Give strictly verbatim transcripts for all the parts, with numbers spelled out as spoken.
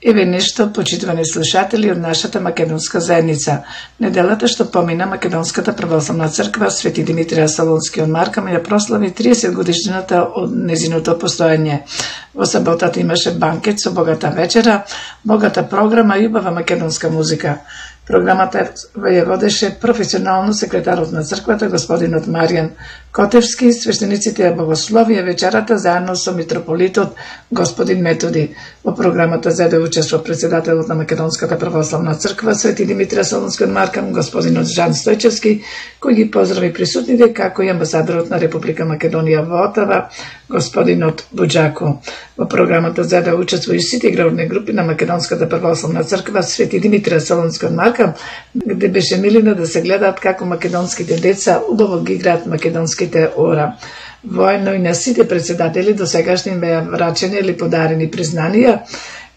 Еве нешто, почитувани слушатели од нашата македонска заедница. Неделата што помина, Македонската православна црква Свети Димитрија Солунски од Маркам ја прослави триесет годишнината од незиното постоење. Во саботата имаше банкет со богата вечера, богата програма и убава македонска музика. Програмата ја водеше професионално секретарот на црквата, господинот Маријан Котевски, свештениците ја богословија вечерата заедно со митрополитот господин Методи. Во програмата заеде учество председателот на Македонската православна црква Свети Димитрија Солунски од Маркам, господинот Жан Стојчевски, кој ги поздрави присутните, како и амбасадорот на Република Македонија во Отава, господинот Буџако. Во програмата заеде учество и сите игрални групи на Македонската православна црква Свети Димитрија Солунски од Маркам, где беше милина да се гледаат како македонските деца убаво ги играат македонските ора. Воедно и на сите председатели до сегашни им беа врачени или подарени признанија,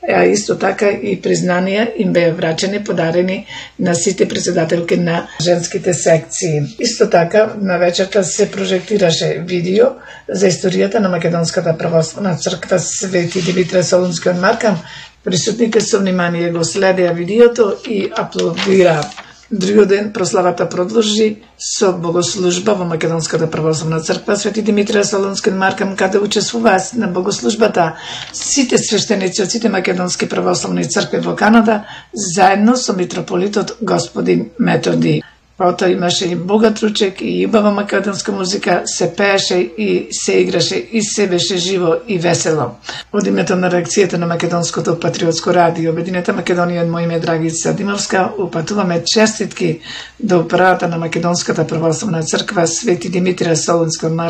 а исто така и признанија им беа врачени, подарени на сите председателки на женските секции. Исто така, на вечерта се прожектираше видео за историјата на Македонската православна црква Свети Димитрија Солунски од Маркам. Присутните со внимание го следеа видеото и аплодираа. Другиот ден прославата продолжи со богослужба во Македонската православна црква Свети Димитрија Солунски од Маркам, каде учествуваа на богослужбата сите свештеници од сите македонски православни цркви во Канада, заедно со митрополитот господин Методи. Потоа имаше и богат ручек и убава македонска музика, се пееше и се играше и се беше живо и весело. Од името на реакцијата на Македонското патриотско радио Обединета Македонија, од моје име Драгица Димовска, упатуваме честитки до управата на Македонската православна црква Свети Димитрија Солунски од Маркам